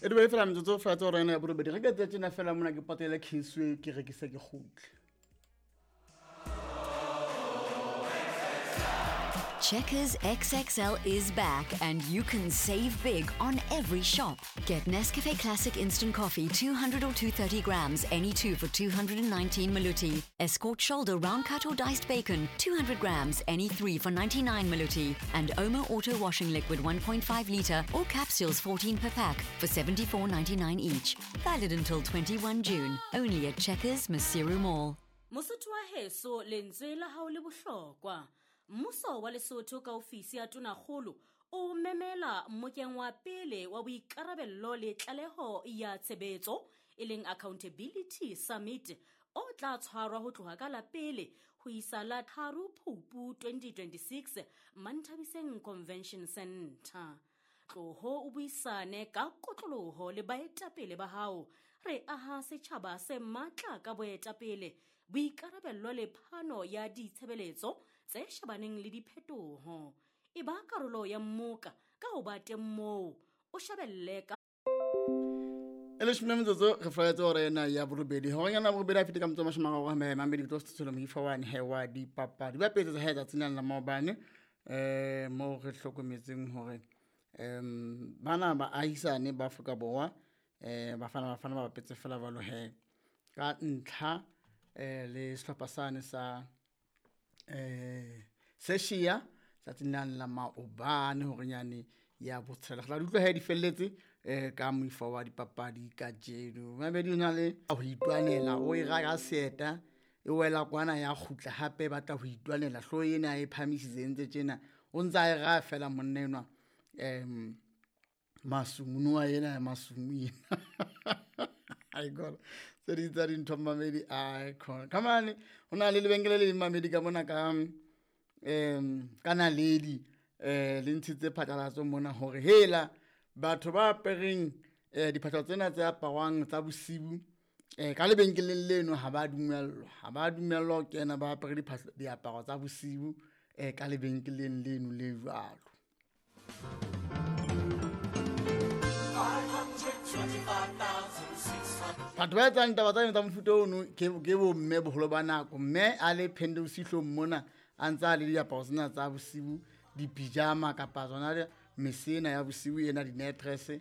E dube fela metsotso fela tse gore ena ya borobedi re ka tse tsena fela mona ke patele Kingsway ke rekise ke kgutle. Checkers XXL is back and you can save big on every shop. Get Nescafe Classic Instant Coffee 200 or 230 grams, any two for 219 Maluti. Escort Shoulder Round Cut or Diced Bacon 200 grams, any three for 99 Maluti. And Omo Auto Washing Liquid 1.5 litre or capsules 14 per pack for 74.99 each. Valid until 21 June. Only at Checkers Maseru Mall. Mosotho wa heso, lentswe la hao le bohlokwa. Mmuso wa Lesotho ka ofisi ya Tonakgolo o memela mmokeng wa pele wa boikarabello le tlaleho ya tshebetso, e leng Accountability Summit, o tla tshwarwa ho tloha ka la pele ho isa la 3 Phupu 2026 Manthabiseng Convention Center. Tloho o buisane ka kotloloho le baetapele ba hao. Re aha setjhaba se matla ka boetapele, boikarabello le phano ya ditshebeletso tse shebaneng le diphetoho. E ba karolo ya mmoka ka ho ba teng moo, o shebelle ka E leshome metsotso re flaetse hora ena ya borobedi. Horeng borobedi a fete ka motso mashome a mararo mme mamedi ke tlo setshelo moifo wa he wa dipapadi. Ba petse tsa hae tsatsing la maobane mo re hlokometseng hore bana ba ahisane ba Afrika Borwa bafana bafana ba bapetse fela jwalo he ka ntlha le sehlopha sane sa Seshia tsatsing la maobane hore nyane ya botshelela. Re tla utlwa he di felletse ka moifo wa dipapadi kajeno. Mamedi o na le ho itwanela, o e raka seeta e wela kwana ya kgutla hape batla ho itwanela hloho ena e phamisitse ntse tjena o ntsa e ra fela monna enwa masumu wa ena ya masumu ena. Ai god, tse ding tsa dintho mamedi ai khona. Come on, ho na le lebenkele le mamedi ka mona ka ka naledi le ntshitse phatlalatso mona hore hela batho ba apereng diphahlo tsena tse aparwang tsa bosiu ka lebenkeleng leno ha ba dumellwa, ha ba dumellwa ho kena ba apere diphahlo diaparo tsa bosiu ka lebenkeleng leno le jwalo. Batho ba etsang taba tsa tsa mofuta ono ke bo mme boholo ba nako, mme a le phende bosihlong mona a ntsa le diaparo tsena tsa bosiu, dipijama kapa tsona mesena ya bosiu ena di-night-dress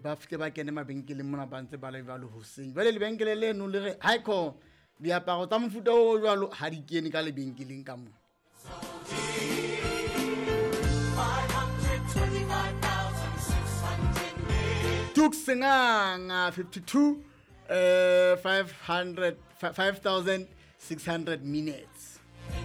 ba fihle ba kene mabenkeleng mona ba ntse ba le jwalo hoseng. Jwale lebenkele leno le re haikho diaparo tsa mofuta o jwalo ha di kene ka lebenkeleng ka mona. Tuksenganga 52 500 5600 minutes.